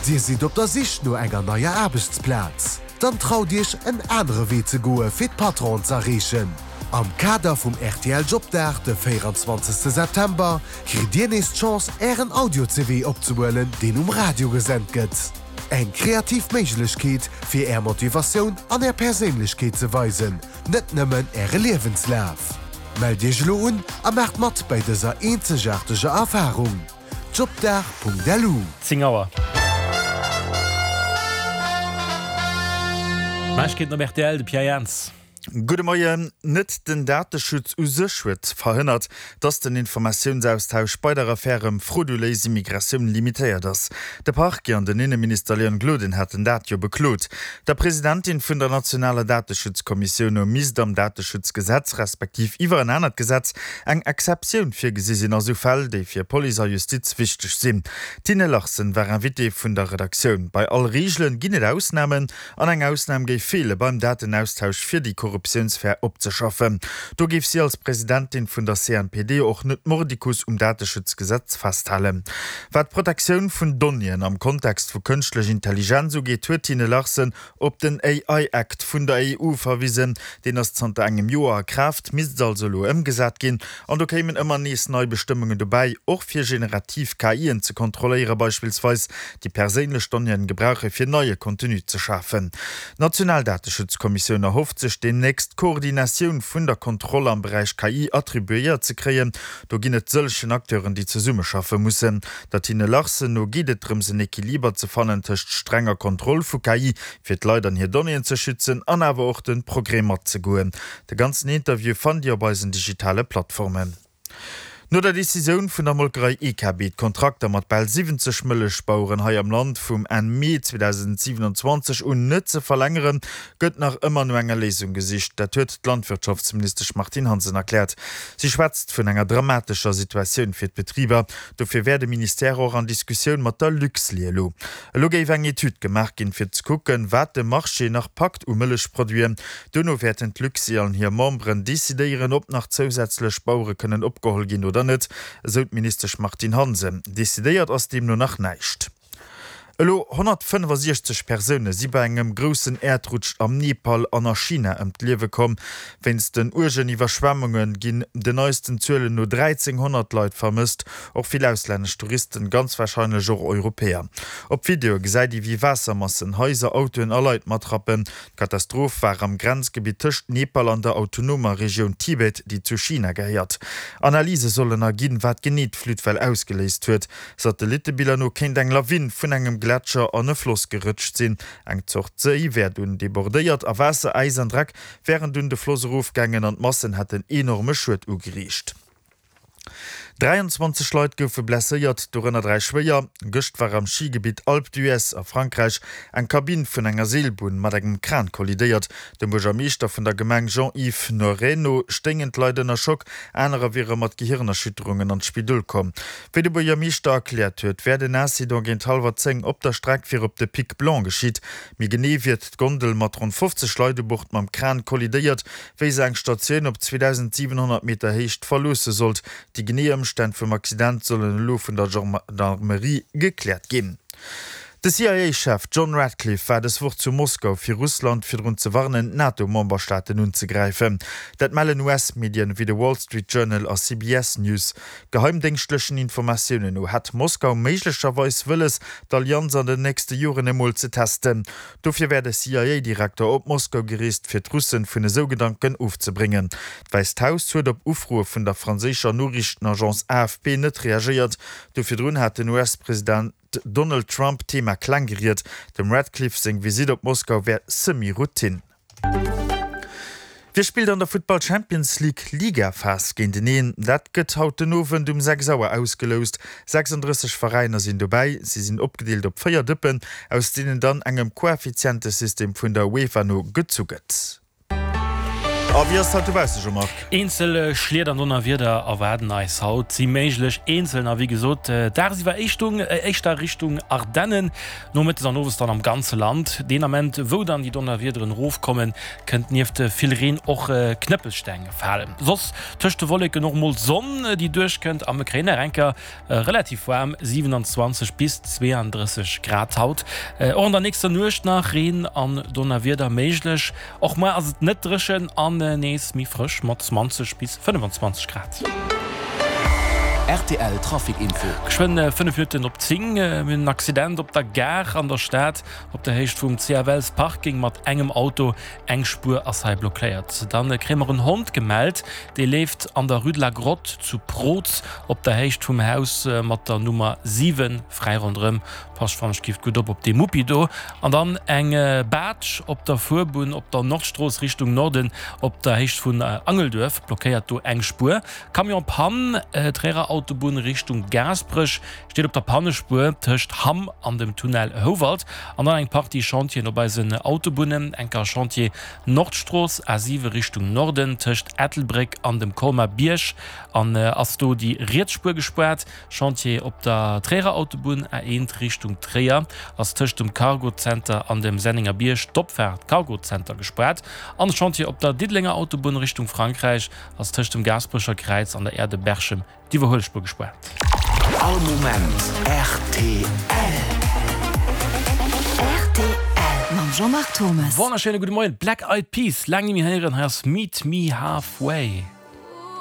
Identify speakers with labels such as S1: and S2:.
S1: Dir sidd op der Sich no enger neier Aarbechtsplaz? Dann traut Iech en anere Wee ze goe fir d'Patronen z'erreechen. Am Kader vum rtl Jobdag de 24 September kritt Dir nees d'Chance Ären Audio-CV opzehuelen deen um Radio gesent gëtt. Eng kreativ Méiglechkeet fir Är Motivatioun an Är Perséinlechkeet ze weisen, net nëmmen Äre Liewenslaf. Mellt Iech elo un a maacht mat bäi dëser eenzegaarteger Erfarung. Jobdag.lu.
S2: 10 Auer. Neiegkeeten op rtl, de Pierre Jans.
S3: Gudde Moien. Net den Dateschutz u sech huet verhënnert, datt den Informatiounsaustausch bei der Affär ëm frauduléis Immigratioun limitéiert ass. De Parquet an den Inneminister Leon Gloden haten dat jo beklot. Der Presidentin vun der nationaler Dateschutzkommissioun no misst am Dateschutzgesetz, respektiv iwwer en anert Gesetz, eng Exceptioun virgesi sinn a sou Fäll, déi fir Police a Justiz wichteg sinn. D'Tine Larsen war Invitée vun der Redaktioun. Bei all Reegelen ginn et Ausnamen an eng Ausnam géif feele beim Datenaustausch fir déi Korruptiounsfär opzeschaffen. Do géif si als Presidentin vun der CNPD och net mordicus um Dateschutzgesetz festhalen. Wat d'Protektioun vun Donnéeën am Kontext vu kënschtlech Intelligenz ugeet, huet d'Tine Larsen Op den AI Act vun der EU verwisen. Deen ass zanter engem Joer a Kraaft, misst also elo ëmgesat ginn. An do kéimen ëmmer nees nei Bestëmmungen dobäi, och fir generativ KIen ze kontrolléieren, beispillsweis déi perséinlech Donnéeën gebrauche fir neie Contenu ze schafen. D'national Dateschutzkommissioun erhofft sech deemnächst d'Koordinatioun vun der Kontroll am Beräich KI attribuéiert ze kréien. Do ginn et sëllegen Acteuren, déi zesummeschaffe mussen. Der Tine Larsen no geet et drëms en Equiliber ze fannen tëscht strenger Kontroll vu KI, fir d'Leit an hir Donnéeën ze schützen, an awer och de Progrès matzegoen. De ganzen Interview fannt Dir op eisen digitale Plattformen. No der Decisioun vun der Molkerei EKB, d'Kontrakter mat bal 70 Mëllechbaueren hei am Land vum Enn Mee 2027 un net ze verlängeren, gëtt nach ëmmer no enger Léisung gesicht. Dat huet d'Landwirtschaftsministesch Martine Hansen erkläert. Si schwätzt vun enger dramatescher Situatioun fir d'Betriber. Dofir wär de Ministère och an Diskussioun mat der Luxlait elo. Elo géif eng Etüd gemaach ginn, fir ze kucken, wat de Marché nach packt u Mëllechproduiten. Duerno wäerten d'Luxlait an hir Memberen decidéieren, ob nach zousätzlech Bauere kënnen opgeholl ginn oder net, esou d'Ministesch Martine Hansen. Decidéiert ass deemno nach näischt. Elo 165 Persoune si bei engem groussen Äerdrutsch am Nepal an a China ëm d'Liewe komm. Wéinst den uergen Iwwerschwemmunge ginn den neisten Zuelen no 1.300 Leit vermësst, och vill auslännesch Touristen, ganz warscheinlech och Europäer. Op Videoe gesäit ee wéi Waassermassen Haiser, Autoen a Leit matrappen. D'Katastroph war am Grenzgebitt tëscht Nepal an der autonomer Regioun Tibet, déi zu China gehéiert. Analyse sollen erginn, wat genee d'Flutwell ausgeléist huet. Satellittebiller no kéint eng Lawin vun engem Gletscher an e Floss gerëtscht sinn. Eng Zort Séi wär dunn debordéiert a Waasser, Äis an Dreck wären dunn de Floss erofgaangen an d'Massen hätten enorme Schued ugeriicht. 23 Leit goufe blesséiert, dorënner 3 schwéier. Gëscht war am Schigebitt Alpe d'Huez a Frankräich eng Kabinn vun enger Seelbunn mat engem Kran kollidéiert. Dem Buergermeeschter vun der Gemeng Jean-Yves Noiret no stéingen d'Leit ënner Schock, anerer wiere mat Gehirnerschütterungen an d'Spidol komm. Wéi de Buergermeeschter erkläert huet, wär den Incident géint hallwer 10 op der Streck fir op de Pic Blanc geschitt. Méi genee wier d'Gondel mat ronn 50 Leit u Bord mam Kran kollidéiert, wéi se eng Statioun op 2.700 Meter Héicht verloosse sollt. Déi genee Ëmstänn vum Accident sollen elo vun der Gendarmerie gekläert ginn. De CIA-Chef John Ratcliffe war dës Woch zu Moskau, fir Russland virdrun ze warnen, d'NATO-Memberstaaten unzegräifen. Dat mellen US-Medien wéi de Wall Street Journal a CBS News. Geheimdéngschtlechen Informatiounen no hätt Moskau méiglecherweis wëlles, d'Allianz an den nächste Joren emol ze testen. Dofir wär de CIA-Direkter op Moskau gereest, fir d'Russen vun esou Gedanken ofzebréngen. D'Wäisst Haus huet op Ufroe vun der franséischer Noriichtenagence AFP net reagéiert. Do virdrun hat den US-President Donald Trump d'Thema kleng geriet. Dem Ratcliffe seng Visitt op Moskau wär semi-Routine. Wie spillt an der Futtball Champions League Ligaphas géinteneen? Dat gëtt haut den Owend um 6 Auer ausgeloust. 36 Veräiner sinn dobäi. Si sinn opgedeelt op 4 Dëppen, aus deenen dann engem Koeffizientesystem vun der UEFA no gezu gëtt. A wéi ass et haut dobausse, Jean-Marc?
S2: Eenzel Schliet an Donnerwieder erwaarden eis haut, si méiglech eenzel a wéi gesot dagsiwwer éischter Richtung Ardennen, nomëttes an owes dann am ganze Land. Deen Ament wou dann déi Donnerwiederen erofkommen, kënnt nieft vill Reen och Knëppelsteng falen. Soss tëscht de Wolleken och mol d'Sonn déi duerchkënnt a mir kréien nach enker Relativ waarm, 27 bis 32 Grad haut. Och an der nächster Nuecht nach Reen an Donnerwieder méiglech. Och muer ass et net dréchen an nees méi frësch mat 20 bis 25 Grad.
S4: Rtl Trafic Info.
S2: Geschwënn 5 Minutten op 10. Mir hunn en Accident op der Gare an der Stad op der Héicht vum CFLs Parking mat engem Auto. Eng Spuer ass hei blockéiert. Dann kréie mer en Hond gemellt, dee leeft an der Rue de la Grotte zu Proz op der Héicht vum Haus mat der Nummer 7 fräi ronderëm. Passt wann ech giff gutt op op dee Muppi do. An dann eng Baatsch op der Fuerbunn op der Nordstrooss Richtung Norden op der Héicht vun Angelduerf, blockéiert do eng Spuer. Camion Panne, Tréierer Autobunn Richtung Gaasperech. Steet op der Pannespuer tëscht Hamm an dem Tunnel Houwald. An dann eng Partie Chantieren op eisen Autobunnen. Enker Chantier Nordstrooss, A7 Richtung Norden, tëscht Ettelbréck an dem Colmar Bierg an ass do déi riets Spuer gespaart. Chantier op der Tréierer Autobunn, A1 Richtung Tréier, ass tëscht dem Cargozenter an dem Sennenger Bierg d'Opfaart Cargozenter gespaart. An Chantier op der Diddelenger Autobunn Richtung Frankräich ass tëscht dem Gaasperecher Kräiz an der Aire de Berchem D'Iwwerhuelspuer gespaart.
S4: All Moment rtl.
S5: Rtl mam Jean-Marc Thomas.
S2: Wonnerschéine gudde Moien. Black Eyed Peas, laang ni méi héieren. Hei ass Meet Me Halfway.